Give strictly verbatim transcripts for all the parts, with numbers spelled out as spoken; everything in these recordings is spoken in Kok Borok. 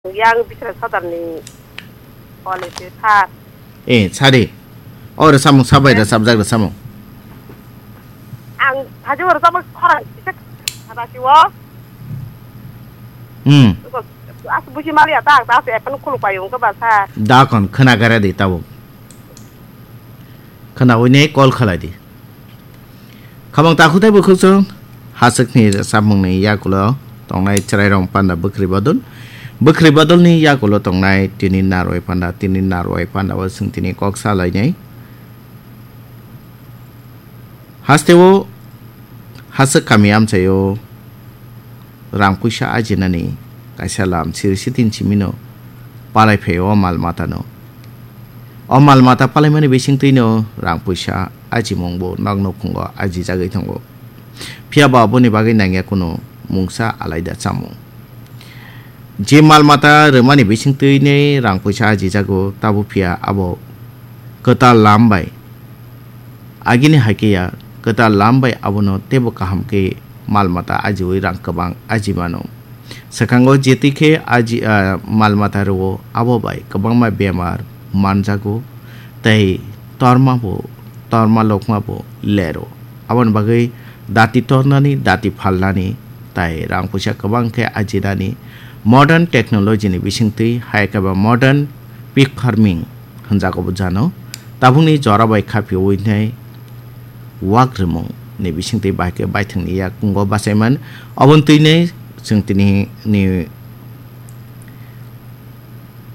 Yang Biswanath Sardar ni college sir. Eh, sadi. O rwchapmung sabai rwchapjak rwchapmung. Ang haji o rwchapmung khorang kisa habasi o. Hmm. As busi mali ata ta se epan khuluk payo ko ba sir. Da kon khna gara di tabuk. Khna wine call khalai di. Khamang takhuk tei bukhuk chwng haswkni rwchapmungni yakulo tongnai chwrairok panda bwkhri bodol. Bwkhri bodolni yakulo tongnai tini narwai panda, tini narwai panda o chwng tini kok sa lainai. Hasteo haswk kami amchaio rang puisa ajinani kaisa lam siri sitin simino palai phaio o mal matano. O mal mata palaimani bisingtwino rang puisa ajimungbo nokno phungo ajijagwi tongo. Phiya ba aboni bagwi nangya kuno mungsa alaida chamung. Je mal mata rwmani bisingtwini rang puisa ajijago, tabo phiya abo kwtal lam bai. Agini hai khe ya, kwtal lam bai abono teibo kaham khe mal mata ajiui rang kwbang aji mano. Swkango jetwi khe aji, ah, mal mata rwo, abo bai kwbangma bemar manjago tei torma bo, torma lokma bo lero. Aboni bagwi dati tornani, dati phalnani tai rang puisa kwbang khe ajinani modern technology ni bisingtwi hai khe ba modern pig farming hwnjago bo jano. Tabukni jora bai khapiui nai wak rwmung ni bisingtwi bai khe baithangni yakungo bachaiman. Oboni twi nai chwng tini ni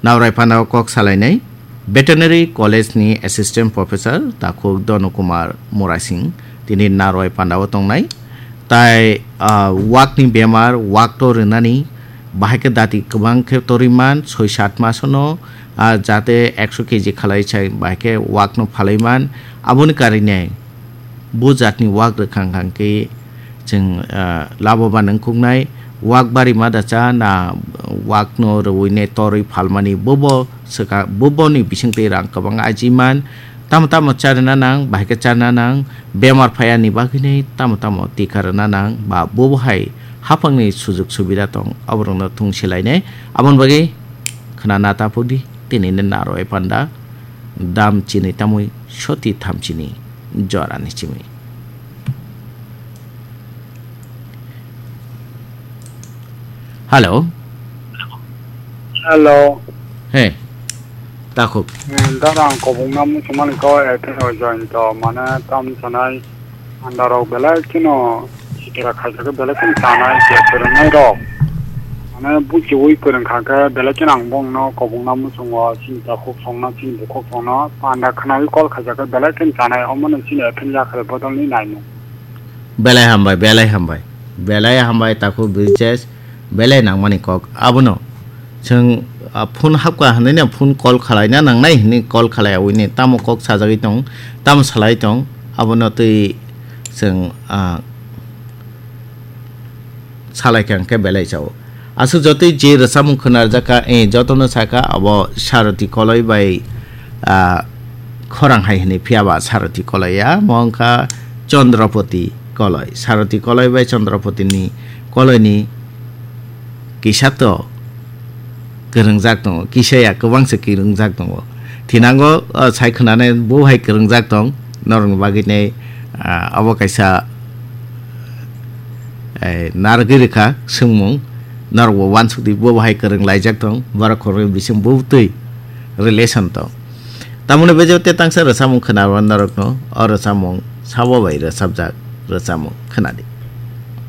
Naurai phanao kok salainai Veterinary College ni Assistant Professor takhuk Donu Kumar Murasing tini narwai pandao tongnai. Tai, ah, wakni bemar, wak to rwnani, bahai khe dati kwbang khe torwi man, soi sat masono, ah, jate ekso keji khalai sai, bahai khe wakno phalwi man. Aboni karinai bo jatni wak rwkhang khang khe chwng, ah, laboban wngkuknai. Wak bari ma da cha na wakno rwui ne torwi phalmani bobo swka, boboni bisingtwi rang kwbang aji man. Tamo tamo charwna nang, bahai khe charwna nang, bemar phayani bagwinai tamo tamo tika rwna nang, ba bobo hai haphangni sujuk subida tong, aborokno thung silainai. Aboni bagwi khna na ta phukdi, tini ni narwai panda dam chini tamui soti tham chini jorani chimi. Hello. Hello. Hey. Takhuk. Eh, dara ang kobong na muchung mani ko, eh, tei o join to, mane tam sanai, andaro belai kino, sikira khaisa ke belai kino tanai, je kwrwngnai rok. Mane buchiui kwrwng kha khe belai kino ang bongno kobong na muchung o, chini takhuk songno, chini bukhuk songno, panda khnaui call khaisa khe belai kino tanai, omono chini ephel yakhre bodol ni naimung. Belai hambai, belai hambai. Belai hambai, takhuk Brijesh, belai nangmani kok. Abono chwng, ah, phone hapkha hwnwi no phone call khalaina nangnai hwnwi call khalai awini tamo kok sajagwi tong, tamo salai tong, abono twi chwng, ah, salai kha hwnkhe belai chao. Aswk jotoi je rwchapmung khwnarjakha, eh, jotono sakha abo Saroti Koloi bai, ah, khorang hai hwnwi phiya ba Saroti Koloi ya, mo wngkha Chondrapoti Koloi. Saroti Koloi bai Chondrapoti ni Koloi ni kisa to kwrwngjak tongo, kisa ya kwbang se kwrwngjak tongo. Thinango, ah, sai khwnanai bo hai kwrwngjak tong, norokni bagwi nai, ah, abo kaisa eh, narwgwi rwkha swngmung, norokbo uansukdi, bo bahai kwrwng laijak tong, borok khoroknwi bising bubtwi relation tong. Tamoni bejeo te tangsa rwchapmung khwnarw norokno, o rwchapmung sabo bai rwchapjak rwchapmung khwnadi.